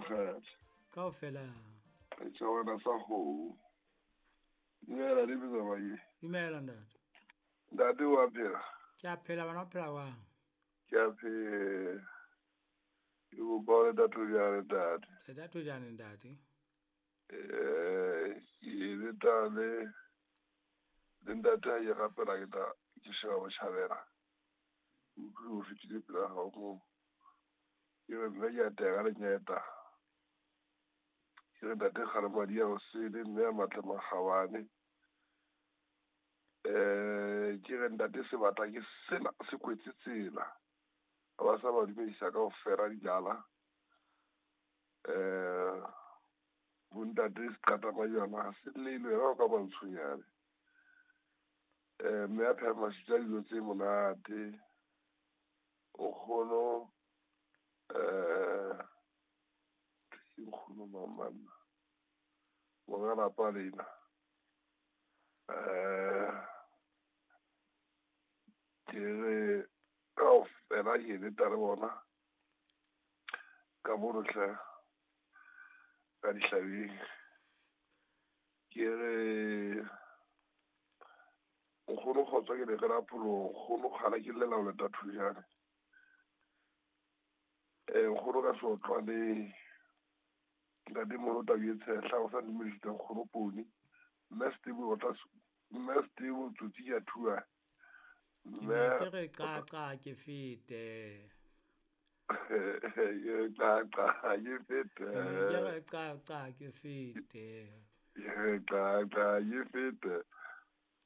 Makgethe. Kaofela. Setjhabana sa kgomo. Dumela le Metsamai. Dumela ntate. Ntate wa phela. Ke a phela bana o phela jwang? Ke a phela. Ke kopa ho le Thojane ntate. Le Thojane ntate. Ke leta le ntate ha ke rapela ke tla ke sheba botjhabela. Utlwe o fetile pela hao moo. Ke re mme ke a teka lenyeta. Ke re ntate Kgalemadi ya hosele mme a matle makgabane. Ke re ntate sebata ke sena se kwetse tsela. Ha ba sa ba dumedisa kaofela dijala. Bontate seqata majwana ha se llelwe yena o ka mantshonyane. Mme a pheha maswitsa dijo tse monate. Nkgono ke nkgono mang manna. Monga lapa lena. Ke re kaofela ke leta le bona ka mono hle ka dihlabeng. Ke re nkgono kgotso ke le re la pholong, nkgono kgala ke llela ho leta Thojane. Nkgono ka seotlwaneng ntate moholo tau e tshehla o sa dumedisitse nkgono poone. Mme Steve o tla mme Steve tsotsi ke a thua. Ke ne ke re qaqa ke fete. Ke qaqa ke fete. Ke ne ke re qaqa ke fete. Ke qaqa ke fete.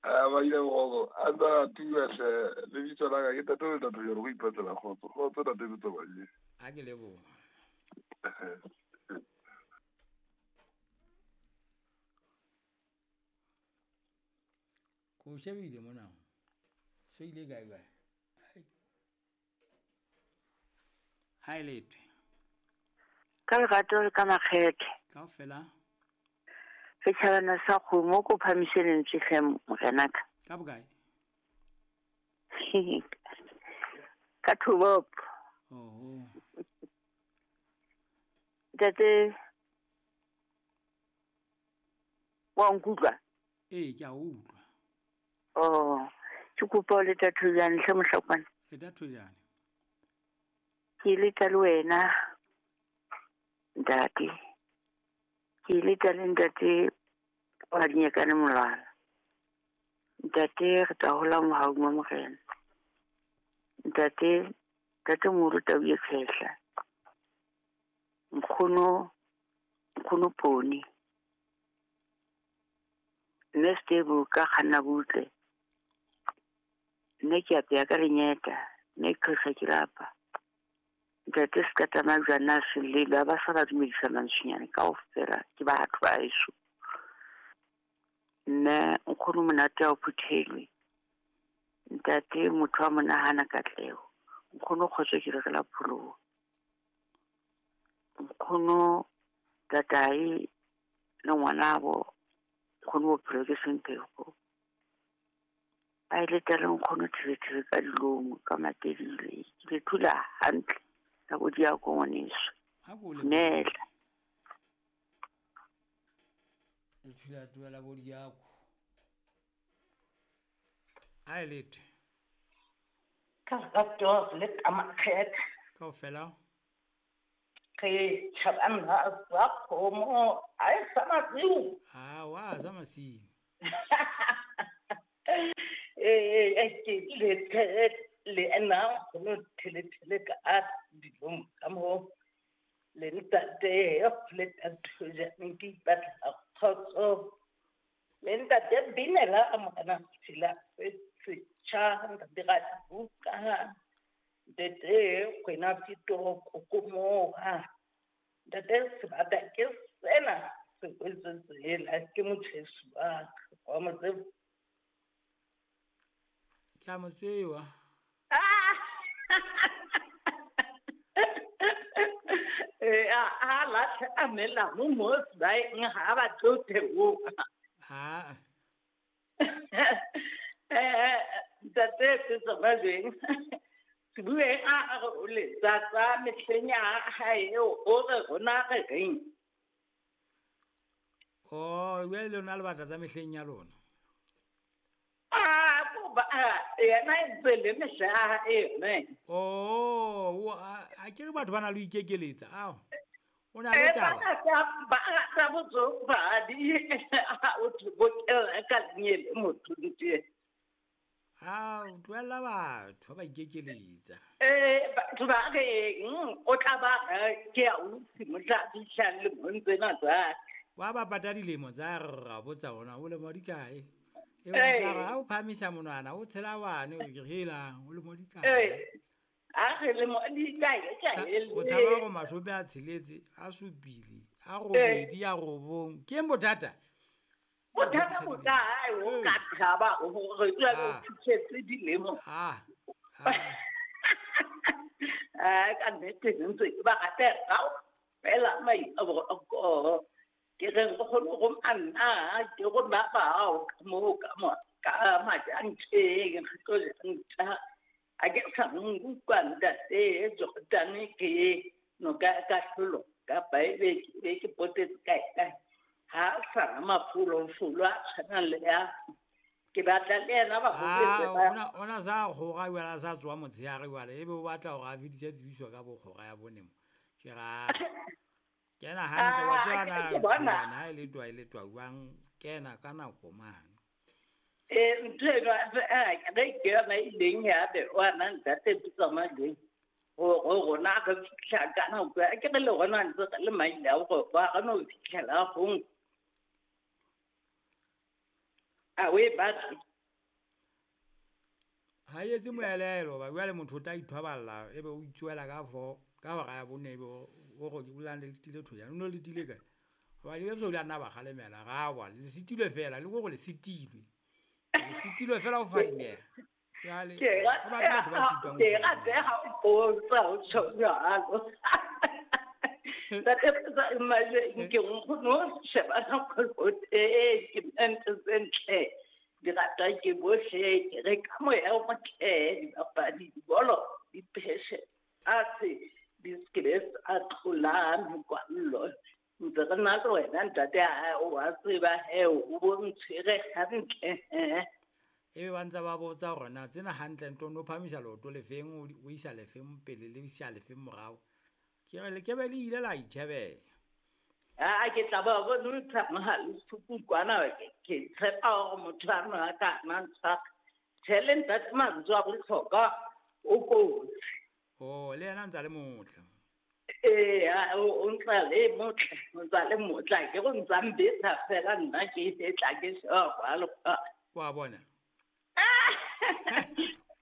A ba ile go a nna tua hle lebitso la ka ke tate le tate go ipatlela kgotso. Kgotso tate Metsamai. A ke leboha. Ko shebile mona. Se ile kae kae? Ha e lethwe. Ka lerato le ka makgethe. Kaofela. Setjhabana sa kgomo ko phamise lentswe hle morenaka. Ka bokae? Ka thobopo. Oho. Ntate wa nkutlwa? Ee, ke a utlwa. Oh, ke kopa ho leta Thojane hle mohlakwana. Leta Thojane. Ke leta le wena ntate. Ke leta le ntate wa Dinyekane Molwana. Ntate re tla hola mohaung wa Morena. Ntate ntate moholo tau e tshehla. Nkgono nkgono poone. Mme Steve ka kganna butle. Nne ke apeya ka lenyeta, mme ke qhesa ke lapa. Ntate seqata majwana a selelo a ba sa ba dumedisa mantswenyane kaofela ke batho ba heso. Mme nkgono monate ha o phuthelwe. Ntate motho wa monahana katleho. Nkgono kgotso ke re re la pholoho. Nkgono tatae le ngwanabo nkgono bophelo ke semphego. A ile tla le nkgono thebethebe ka dilomo ka matelile. Ke le thula hantle ka bo diako ngwaneso. Ha ko le Dumela. Le thula tuela bo diako. Ha e lethwe. Ka lerato le ka makgethe. Kaofela. Re tjhabana sa kgomo a e sa masiu. Ha wa sa masiu. Ke le le nna nkgono thele thele ka dilong ka moo le ntate le Thojane ke ipatlela kgotso. Le ntate Binela morena Tshila setjha ntate Radibuka ntate Kwena Pito Kokomoha ntate sebata ke sena se kwetse tsela ke motjheso wa ka wa mo tseba. Ke a mo tseba. A latlhe a melamu mo sebaeng ha ba tlo theoha. Ha. Ntate ke tsona jweng. Sebueng a re o letsa tsa mehleng ya hae eo o re rona re reng. Oh, jwale lona le batla tsa mehleng ya lona. A ko ba yena e ntse le mehla ya hae yone. Oh, a ke re batho ba na le ho ikekeletsa. Ao. O na le Ba taba. rata botsofadi o thwe bokella ka lenyele motho nte. Ao, tlohella batho ba ikekeletsa. Batho ba reng o tla ba ke a utlwe mohla a fihlang lemong tsena tsa. Wa ba pata dilemo tsa re ra botsa ona o lemo di kae? E bontsha hore ha o phahamisa monwana o tshela wane o ke re helang o lemo di kae? A re lemo di kae kae O tshaba hore 60, a 7, a 8, a 9. Ke eng bothata? Bothata bo kae o ka thaba hore jwale o fihletse dilemo. Ka nnete ntse ke ba rata kaofela maitshwaro. Ke re nkgono go nna ke rona bao ka moo ka mo ka majanteng re tlo janta. A ke sa nkutlwa ntate Jordan ke noka ka hlolo kapa ebe ke ke potetse kae kae. Ha sa mafolofolo a tshwanang le ya ke batla le yena ba hopetse ba. Ona sa kgora jwale a sa tswa motshehare jwale ebe o batla hore a fetise tsebiso ka bo kgora ya bone mo. Ke ra kena hantle wa tseba na Ke bona. Thulana, ha e le twa e le twa jwang kena ka nako mane. Ntho eno, re ke yona e leng ya be wa na ntate Tsamajeng. Go rona re fitlha ka nako ya, ke re le rona ntse re le maile a gore ba re no fitlhela gong. A o e batle? Ha e etse moelelo, ba jwale motho o tla ithwaballa ebe o itsuela ka 4 ka hora ya 4 ebe o re o lande le tile thojana. O no le tile kae? Hoba le so le nna ba kgalemela, ra wa, le sitilwe fela, le gore le sitilwe. Le sitilwe fela ho fadimeha. Jwale, Ke ho batho batho ba sitwang ho ke fadimeha. rata ha o botsa ho tjho jwalo. Ntate Potsa, imagine ke nkgono o sheba nako ke ntho tse ntle. Di rata ke bohle, ke re ka moya o motle, dibapadi, dibolo, di pheshe, fatshe, di se ke tsa tlola mekwallo. Ntse re na le wena ntate ha o wa tseba he, o bo ntshwere hantle, he. Ebe ba ntse ba botsa hore na tsena hantle ntho no phamisa leoto lefeng, o isa lefeng pele le isa lefeng morao. Ke re le ke be le ile la itjhebela. A ke tla ba bontsha mohale suku kwana ke tshepa hore motho a nwa ka nna ntshwara. Tjhe, le ntate mantswe a bohlokwa o kotsi. Oh, le yena ntse a le motle. O ntse le motle, o ntse le motle, ke go ntse a mbetsa fela nna ke etla ke sheba kwa le kwa. Wa bona?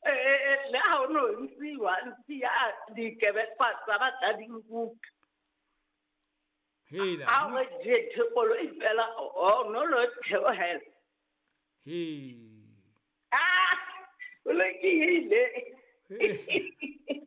Le ha o no ntsiwa, ntsiya dikebekwa tsa batla di nkuka. Hela. Ha o je thekolo e fela, o no lo theohela. He. O lokile. He.